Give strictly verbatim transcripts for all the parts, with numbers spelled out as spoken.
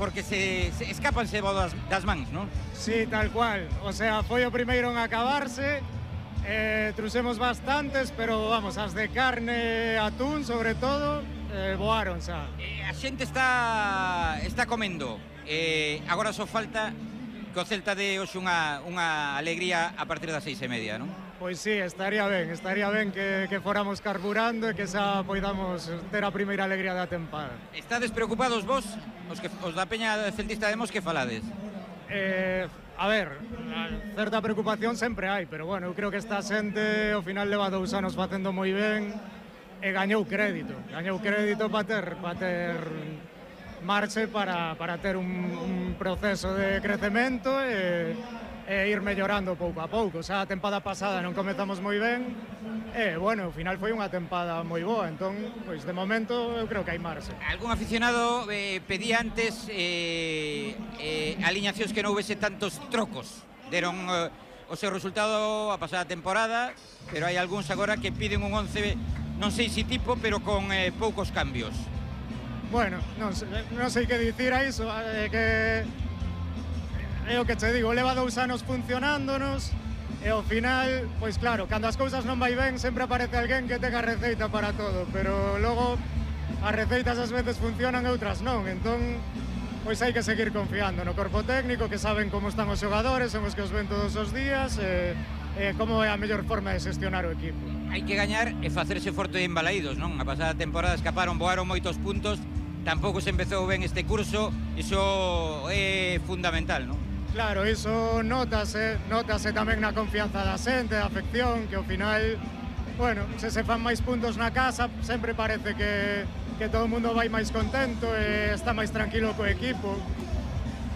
Porque se, se escapanse das, das mans, non? Sí, tal cual. O sea, foi o primeiro en acabarse. Eh, truxemos bastantes, pero vamos, as de carne, atún, sobre todo, eh, voaron xa. Eh, a xente está está comendo. Eh, agora só falta que o Celta de hoxe unha, unha alegría a partir das seis e media, non? Pois sí, estaría ben, estaría ben que, que fóramos carburando e que xa poidamos ter a primeira alegría da tempada. Estades preocupados vos, os, que, os da Peña Celtista de Mos, que falades? Eh, a ver, certa preocupación sempre hai, pero bueno, eu creo que esta xente ao final leva dous anos facendo moi ben e gañou crédito, gañou crédito para ter, para ter marche para, para ter un, un proceso de crecemento e, e ir mellorando pouco a pouco. O sea, a tempada pasada non comezamos moi ben e, bueno, ao final foi unha tempada moi boa, entón, pois de momento eu creo que hai marxe. Algún aficionado eh, pedía antes eh, eh, aliñacións que non houvese tantos trocos. Deron eh, o seu resultado a pasada temporada, pero hai algúns agora que piden un once, non sei se tipo, pero con eh, poucos cambios. Bueno, non sei, non sei que dicir a iso, é que é o que te digo, leva dous anos funcionándonos e ao final, pois claro, cando as cousas non vai ben sempre aparece alguén que tenga receita para todo, pero logo as receitas ás veces funcionan e outras non, entón pois hai que seguir confiando no corpo técnico, que saben como están os xogadores, son os que os ven todos os días e, e como é a mellor forma de xestionar o equipo. Hai que gañar e facerse forte en Balaídos, non? A pasada temporada escaparon, voaron moitos puntos, tampouco se empezou ben este curso, iso é fundamental, non? Claro, iso notase, notase tamén na confianza da xente, da afección, que ao final, bueno, se se fan máis puntos na casa, sempre parece que, que todo o mundo vai máis contento e está máis tranquilo co equipo.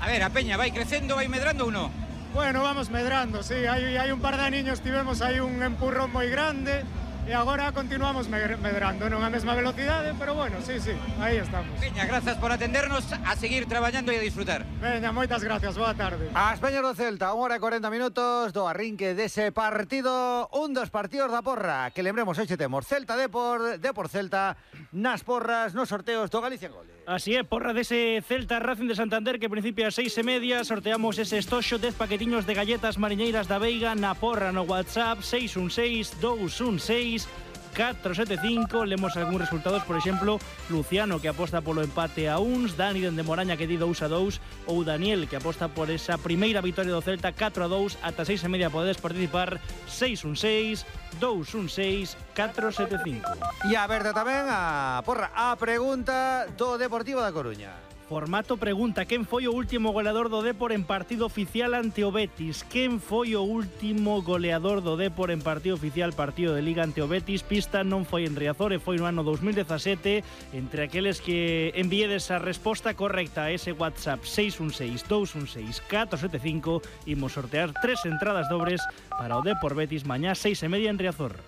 A ver, a Peña vai crecendo, vai medrando ou non? Bueno, vamos medrando, sí, hai, hai un par de aniños tivemos aí un empurrón moi grande e agora continuamos medrando, non a mesma velocidade, pero bueno, sí, sí, aí estamos. Peña, grazas por atendernos, a seguir traballando e a disfrutar. Veña, moitas gracias, boa tarde. As Peñas do Celta, unha hora e cuarenta minutos do arrinque dese partido, un dos partidos da porra, que lembremos, hoxe temos Celta Depor, Depor Celta, nas porras, nos sorteos do Galicia Goles. Así é, porra dese Celta Racing de Santander que principia a seis e media, sorteamos ese estoxo, dez paquetiños de galletas mariñeiras da Veiga na porra no WhatsApp seis un seis, dous un seis, catro sete cinco. Lemos algúns resultados, por exemplo, Luciano que aposta polo empate a uns, Dani dende Moraña que di dous a dous, ou Daniel que aposta por esa primeira vitoria do Celta catro a dous. Ata seis e media podedes participar, seis un seis, dous un seis, catro sete cinco. E a verde tamén a porra, a pregunta do Deportivo da Coruña. Formato pregunta, quen foi o último goleador do Depor en partido oficial ante o Betis? Quen foi o último goleador do Depor en partido oficial, partido de Liga ante o Betis? Pista non foi en Riazor e foi no ano dos mil dezasete. Entre aqueles que envíedes a resposta correcta a ese WhatsApp seis un seis, dous un seis, catro sete cinco, imos sortear tres entradas dobres para o Depor Betis mañá seis e media en Riazor.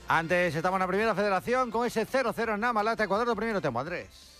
Antes estamos na primeira federación con ese cero cero na Malata, Ecuador do primeiro tempo, Andrés.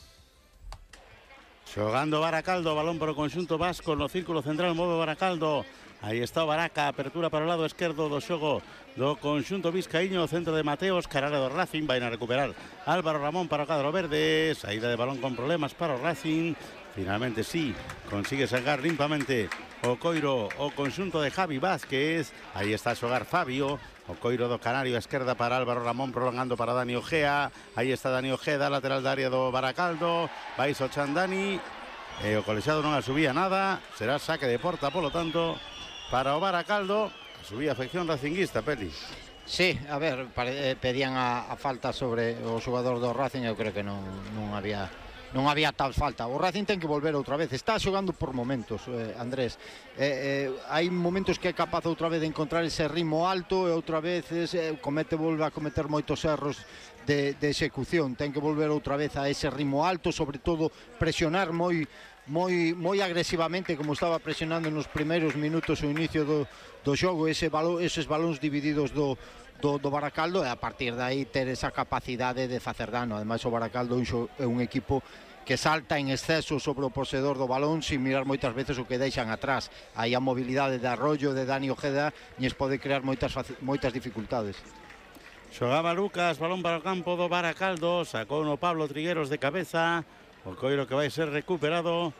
Xogando Baracaldo, balón para o conxunto vasco no círculo central, move Baracaldo. Aí está o Baraca, apertura para o lado esquerdo do xogo do conxunto vizcaíño, centro de Mateos, caralho do Racing, vai a recuperar Álvaro Ramón para o cadro verde, saída de balón con problemas para o Racing. Finalmente sí, consigue sacar limpamente o coiro o conxunto de Javi Vázquez. Aí está a xogar Fabio, o coiro do Canario a esquerda para Álvaro Ramón, prolongando para Dani Ojea. Aí está Dani Ojeda, lateral da área do Baracaldo. Vai Sochan Dani, e o colexiado non a subía nada. Será saque de porta, polo tanto, para o Baracaldo. A subía a afección racinguista, Peli. Sí, a ver, pedían a, a falta sobre o xogador do Racing. Eu creo que non, non había non había tal falta. O Racing ten que volver outra vez. Está xogando por momentos, eh, Andrés. Eh, eh, hai momentos que é capaz outra vez de encontrar ese ritmo alto e outra vez eh, comete, volve a cometer moitos erros de, de execución. Ten que volver outra vez a ese ritmo alto, sobre todo presionar moi moi moi agresivamente como estaba presionando nos primeiros minutos o inicio do, do xogo, ese balón, eses balóns divididos do Do, do Baracaldo, e a partir de aí ter esa capacidade de facer dano. Ademais o Baracaldo é un equipo que salta en exceso sobre o poseedor do balón sin mirar moitas veces o que deixan atrás. Aí a mobilidade de Arroyo, de Dani Ojeda, lles pode crear moitas, moitas dificultades. Xogaba Lucas, balón para o campo do Baracaldo, sacou no Pablo Trigueros de cabeza, o coiro que vai ser recuperado